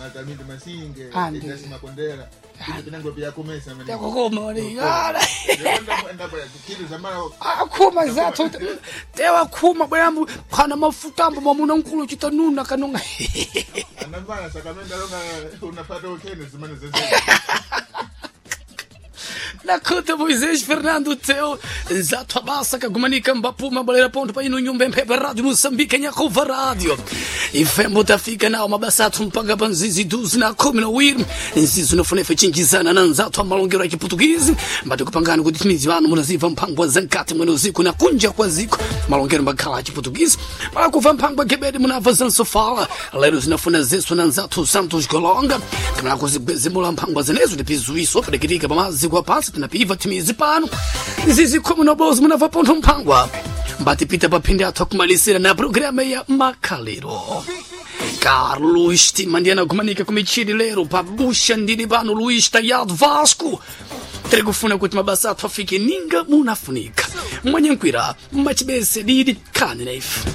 Matamindi Masinge, Andi. Ignasi Makondera, ine pinango pyakomesa mene. Yakukoma wali. Ala. Kitu zamara Akhuma zathu tewakhuma bwerambu khana mafutambo mwamuna nkulu chitanuna kanonga. Anambana sakamenda longa unapata ukene zimene zeze. Nakuta Moisés Fernando Teu Zato Abassa Kagumanika Mbapuma Balera ponto pa ino nyumba mphepa rádio Moçambique Nhakuva rádio ifembo tafika nawo mabasa athu mpaka pa nzizi 12 na 12 nzizi unofunefe chinjizana na nzathu amalongero a chiputukizi mbati kupangani kuti timizi vanu munaziva mphangwa za mkati mwene usiku na kunja kwa ziko malongero mbakhala a chiputukizi palakuva mphangwa gebedi munabva zansofala lero zinafuna zesu na nzathu Santos Golonga kamala kuzigwezemula mphangwa zenezo tipizuiso padakitika pamaziko apansi tinapiva timizi pano nzizi 10 munabva pontho mphangwa mbatipita paphindi athu akumalisira na programa ya makhaliro. Carlos Timandiana kumanika kumichiri lero pabusha ndili pano Luís Tayado Vasco tiri kufuna kuti mabasa athu afike ninga munafunika mwanyankwira machibese didi khani naife.